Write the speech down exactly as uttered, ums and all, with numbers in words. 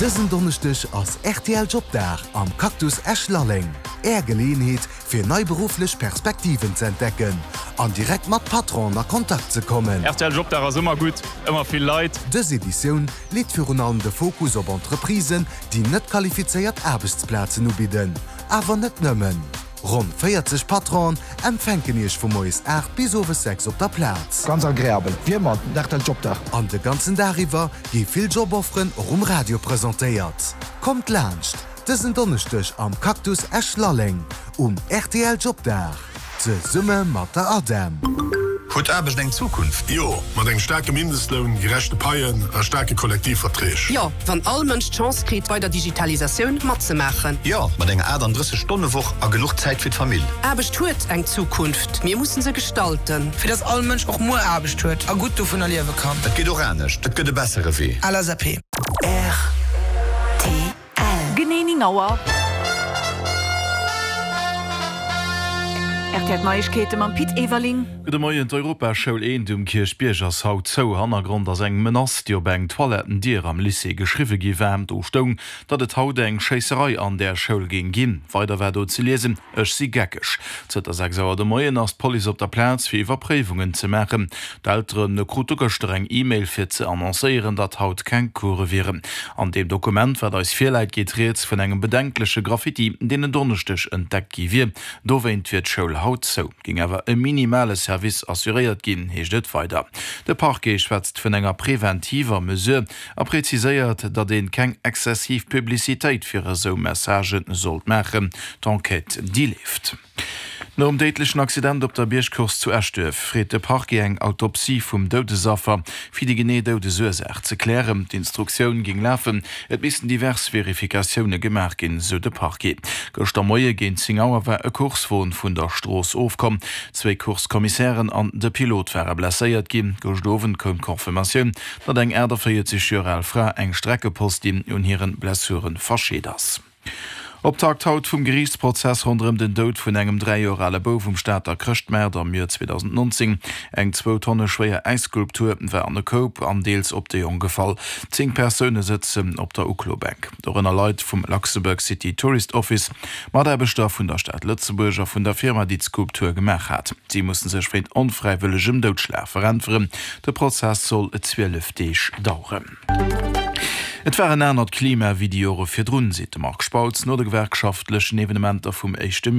Dësen Donneschdeg ass R T L Jobdag am Cactus Esch-Lalleng. Är Geleeënheet fir nei berufflech Perspektiven ze entdecken an direkt mat Patronen a Kontakt ze kommen. R T L Jobdag ass ëmmer gutt, ëmmer vill Leit. Dës Editioun leet virun allem de Fokus op Entreprisen, déi net qualifizéiert Aarbechtsplazen ubidden. Awer net nëmmen. Ronn véierzeg Patronen empfänken iech vu moies aacht bis owes sechs op der Plaz. Ganz agreabel. Wéi ëmmer, R T L Jobdag. An de ganzen Dag iwwer gi vill Jobofferen och um Radio presentéiert. Kommt laanscht, dësen Donneschdeg am Cactus Esch-Lalleng um R T L Jobdag. Zesumme mat der ADEM. Huet Aarbecht eng Zukunft? Jo, mat engem staarke Mindestloun, gerechte Paien a staarke Kollektivverträg. Jo, wann all Mënsch d'Chance kritt, bei der Digitalisatioun matzemaachen. Jo, mat enger aachtanddrësseg-Stonne-Woch a genuch Zäit fir d'Famill. Aarbecht huet eng Zukunft. Mir musse se gestalten. Fir dass all Mënsch och muer Aarbecht huet a gutt dovunner liewe kann. Et geet och anescht, et gëtt e bessere Wee. L S A P. R T L. Genee néng Auer. R T L Neiegkeete mam Pit Everling. Gudde Moien. D'Europaschoul eent um Kierchbierg ass haut zou. Hannergrond ass eng Menace, déi op eng Toilettendier am Lycée geschriwwe gi war. Do stoung, datt et haut eng Schéisserei an der Schoul géing ginn. Weider war do ze liesen: Ech si geckeg. Zënter sechs Auer de Moien ass d'Police op der Plaz fir Iwwerpréiwungen ze maachen. D'Eltere krute gëschter eng E-Mail fir ze annoncéieren, datt haut keng Course wieren. An deem Dokument, wat eis virläit, geet rieds vun engem bedenkleche Graffiti, deen en Donneschdeg entdeckt gi wier. Dowéint wier d'Schoul haut zou. Géing awer e minimale Service assuréiert ginn, heescht et weider. De Parquet schwätzt vun enger preventiver Mesure a preziséiert, datt ee keng exzessiv Publicitéit fir esou Messagë sollt maachen. D'Enquête, déi leeft. Nom déidlechen Accident op der Biergcourse zu Eschduerf freet de Parquet eng Autopsie vum Doudesaffer fir déi genee Doudesursaach ze klären. D'Instruktioun géing lafen, et missten divers Verifikatioune gemaach ginn, sou de Parquet. Gëschter Moie géint zéng Auer war e Coursewon vun der Strooss ofkomm. Zwee Course-Kommissären an de Pilot ware blesséiert ginn. Gëschter Owend koum d'Confirmatioun, datt eng aachtavéierzeg Joer al Fra eng Streckepostin un hire Blessuren verscheet ass. Optakt haut vum Geriichtsprozess ronderëm den Doud vun engem dräi Joer ale Bouf um Stater Chrëschtmaart am Joer zweedausendnonzéng. Eng zwou Tonne schwéier Äisskulptur war an e Koup an deels op de Jong gefall. Zéng Persoune sëtzen op der Uklobänk, dorënner Leit vum Luxembourg City Tourist Office, Mataarbechter vun der Stad Lëtzebuerg a vun der Firma, déi d'Skulptur gemaach hat. Si musse sech wéint onfräiwëllegem Doudschlag veräntweren. De Prozess soll zwielef Deeg daueren. Et war en anert Klima wéi déi Jore virdrun, seet de Marc Spautz no de gewerkschaftlechen Evenementer vum éischte.